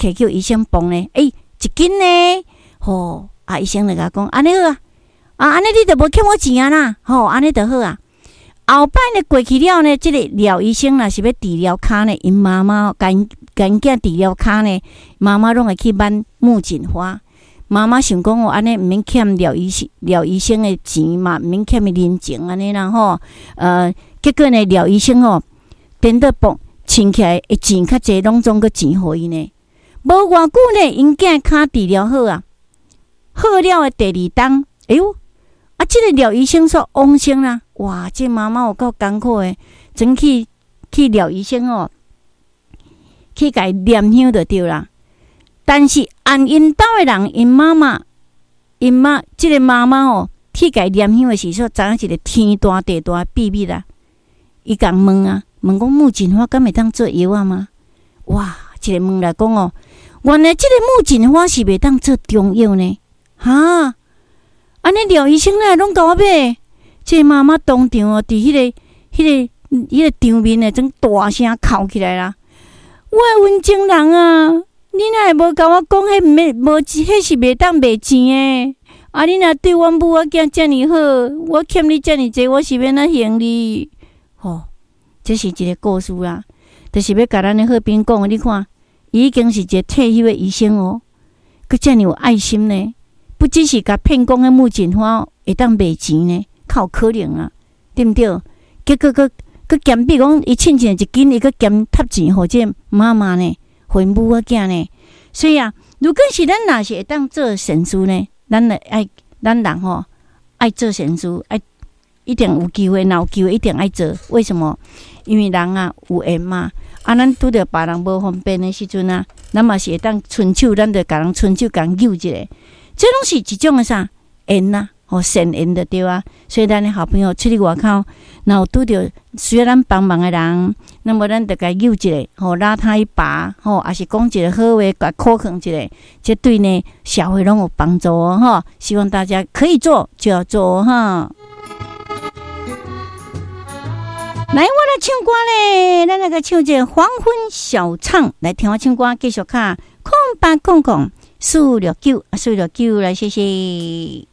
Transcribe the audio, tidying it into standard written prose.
摕叫醫生磅呢，欸，1斤呢，吼，啊，醫生就共講，按呢好啊，啊，按呢你就無欠我錢啊啦，吼，按呢就好啊。後擺呢過去了呢，這個廖醫生若是欲治療跤呢，𪜶媽媽共共𪜶囝治療跤呢，媽媽攏會去挽木槿花。媽媽想講哦，按呢毋免欠廖醫生廖醫生的錢嘛，毋免欠伊人情按呢啦吼。結果呢，廖醫生吼，顛倒磅稱起來的錢較濟，攏總閣錢予伊呢。無偌久呢，𪜶囝跤治療好啊，好了的第二冬，哎喲，啊，這個廖醫生煞往生啦！哇，這媽媽有夠艱苦的，轉去去廖醫生哦，去共伊念香就對啦。但是按𪜶兜的人，𪜶媽媽，𪜶媽這個媽媽哦，去共伊念香的時陣，知影一個天大地大的秘密啦。伊共問啊，問講木槿花敢會當做藥仔嗎？哇，一个問來講哦，原來這個木槿花是袂當做中藥呢？哈？按呢廖醫生哪會攏共我買？這個媽媽當場哦，佇彼個場面呢，種大聲哭起來啦！我的溫情人啊，你哪會無共我講？彼毋免無，彼是袂當賣錢的。啊！你若對阮母仔囝遮爾好，我欠你遮爾濟，我是欲按怎還你？吼，這是一個故事啦，就是欲共咱的好朋友講，你看，伊已經是一個退休的醫生哦，閣遮爾有愛心呢。不只是共騙講彼木槿花會當賣錢呢，較有可能啊，對毋對？結果閣閣兼比講，伊稱一斤，伊閣兼貼錢予這媽媽呢，予𪜶母仔囝呢。所以啊，如果是咱若是會當做善事呢，咱來愛咱人吼愛做善事，愛一定有機會，若有機會一定愛做。為什麼？因為人啊有緣嘛。啊，咱拄著別人無方便的時陣啊，咱嘛是會當伸手，咱就共人伸手共救一下。這攏是一種的啥緣啊，吼善緣就對啊。所以咱的好朋友出去外口，若有拄著需要咱幫忙的人，那麼咱就共救一下，吼拉他一把，吼，抑是講一個好話，共鼓勵一下，這對呢社會攏有幫助哦，吼。希望大家可以做就要做哈。來，我來唱歌咧，咱來個唱這個黃昏小唱，來聽我唱歌，繼續卡0800 469 469來，謝謝。